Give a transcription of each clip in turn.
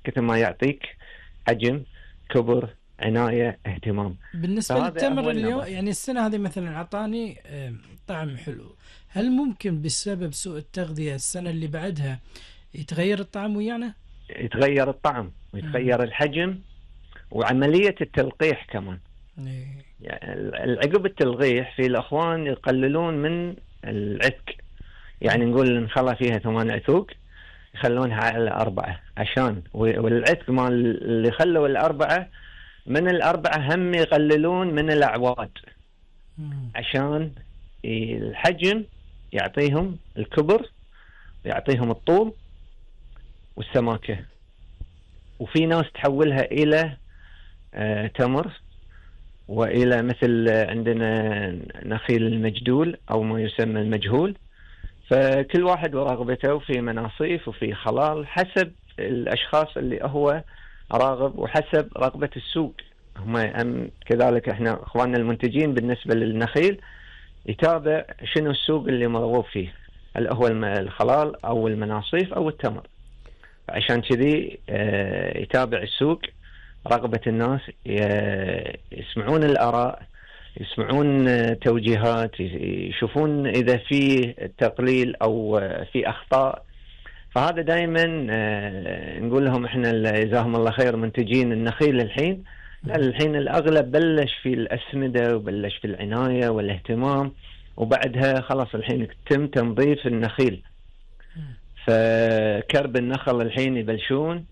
كثر ما يعطيك حجم، كبر، عناية، اهتمام. بالنسبة للتمر اليوم يعني السنة هذه مثلا أعطاني طعم حلو، هل ممكن بسبب سوء التغذية السنة اللي بعدها يتغير الطعم ويانا؟ يتغير الطعم ويتغير الحجم وعملية التلقيح كمان. يعني عقب التلقيح في الأخوان يقللون من العتق، يعني نقول نخلى فيها 8 عتوق يخلونها على 4 عشان، والعتق مال اللي خلوا ال4 من ال4 هم يقللون من الأعواد عشان الحجم يعطيهم الكبر، يعطيهم الطول والسماكة. وفي ناس تحولها إلى تمر وإلى مثل عندنا نخيل المجدول أو ما يسمى المجهول. فكل واحد ورغبته، وفي مناصيف وفي خلال حسب الأشخاص اللي هو راغب وحسب رغبة السوق. هم كذلك احنا اخواننا المنتجين بالنسبة للنخيل يتابع شنو السوق اللي مرغوب فيه، هل هو الخلال او المناصيف او التمر. عشان كذي يتابع السوق، رغبة الناس، يسمعون الآراء، يسمعون توجيهات، يشوفون إذا في تقليل أو في أخطاء. فهذا دائما نقول لهم احنا جزاهم الله خير منتجين النخيل الحين الأغلب بلش في الأسمدة وبلش في العناية والاهتمام، وبعدها خلاص الحين تم تنظيف النخيل. فكرب النخل الحين يبلشون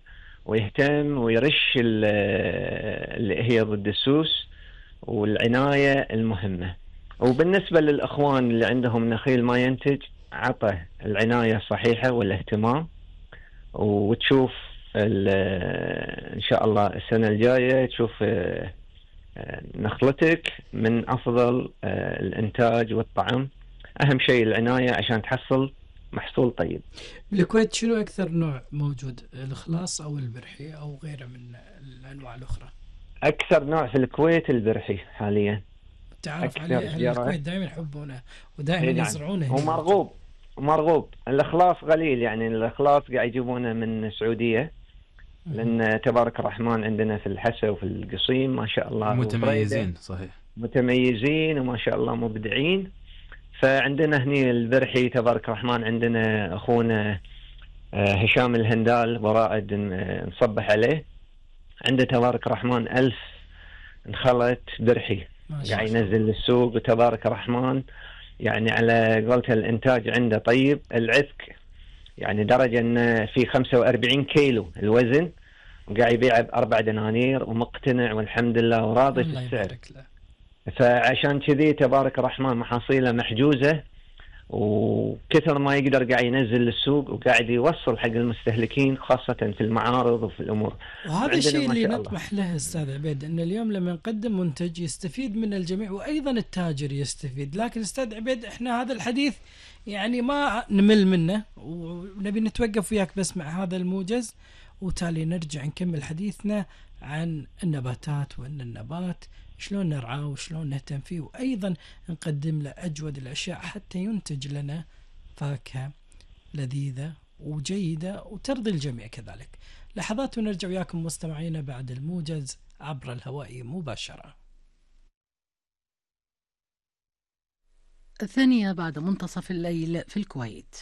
ويهتم ويرش اللي هي ضد السوس والعناية المهمة. وبالنسبة للأخوان اللي عندهم نخيل ما ينتج، عطى العناية الصحيحة والاهتمام، وتشوف إن شاء الله السنة الجاية تشوف نخلتك من أفضل الإنتاج والطعم. أهم شيء العناية عشان تحصل محصول طيب. بالكويت شنو أكثر نوع موجود، الإخلاص أو البرحي أو غيره من الأنواع الأخرى؟ أكثر نوع في الكويت البرحي حاليا. تعرف عليه أهل الكويت دائما يحبونه ودائما يزرعونه. ومرغوب. الإخلاص قليل، يعني الإخلاص قاعد يجيبونه من السعودية، لأن تبارك الرحمن عندنا في الحسا وفي القصيم ما شاء الله متميزين. صحيح، متميزين وما شاء الله مبدعين. فعندنا هني البرحي تبارك الرحمن، عندنا أخونا هشام الهندال ورائد نصبح عليه، عنده تبارك الرحمن 1000 نخلت برحي قاعد ينزل للسوق، وتبارك الرحمن يعني على قولته الإنتاج عنده طيب. العتق يعني درجة أن في 45 كيلو الوزن، وقاعد يبيع ب4 دنانير ومقتنع والحمد لله وراضي في السعر. فعشان كذي تبارك الرحمن محاصيله محجوزة، وكثر ما يقدر قاعد ينزل للسوق وقاعد يوصل حق المستهلكين خاصة في المعارض وفي الأمور. وهذا الشيء اللي نطمح له أستاذ عبيد، أن اليوم لما نقدم منتج يستفيد من الجميع وأيضا التاجر يستفيد. لكن أستاذ عبيد احنا هذا الحديث يعني ما نمل منه، ونبي نتوقف وياك بس مع هذا الموجز، وتالي نرجع نكمل حديثنا عن النباتات، وأن النبات شلون نرعاه وشلون نهتم فيه، وأيضا نقدم له أجود الأشياء حتى ينتج لنا فاكهة لذيذة وجيدة وترضي الجميع كذلك. لحظات ونرجع وياكم مستمعينا بعد الموجز عبر الهواء مباشرة. 2 بعد منتصف الليل في الكويت.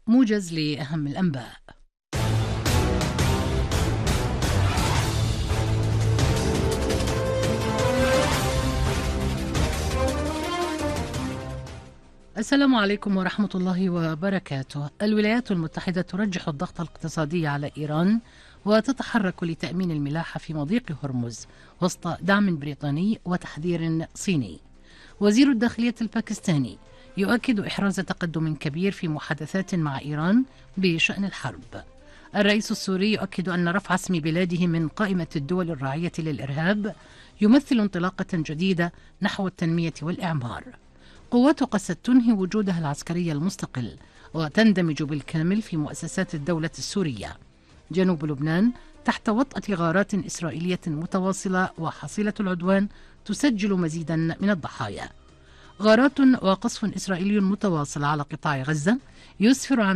موجز لأهم الأنباء. السلام عليكم ورحمة الله وبركاته. الولايات المتحدة ترجح الضغط الاقتصادي على إيران وتتحرك لتأمين الملاحة في مضيق هرمز وسط دعم بريطاني وتحذير صيني. وزير الداخلية الباكستاني يؤكد إحراز تقدم كبير في محادثات مع إيران بشأن الحرب. الرئيس السوري يؤكد أن رفع اسم بلاده من قائمة الدول الراعية للإرهاب يمثل انطلاقة جديدة نحو التنمية والإعمار. قوات قسد تنهي وجودها العسكري المستقل وتندمج بالكامل في مؤسسات الدولة السورية. جنوب لبنان تحت وطأة غارات إسرائيلية متواصلة وحصيلة العدوان تسجل مزيدا من الضحايا. غارات وقصف إسرائيلي متواصل على قطاع غزة يسفر عن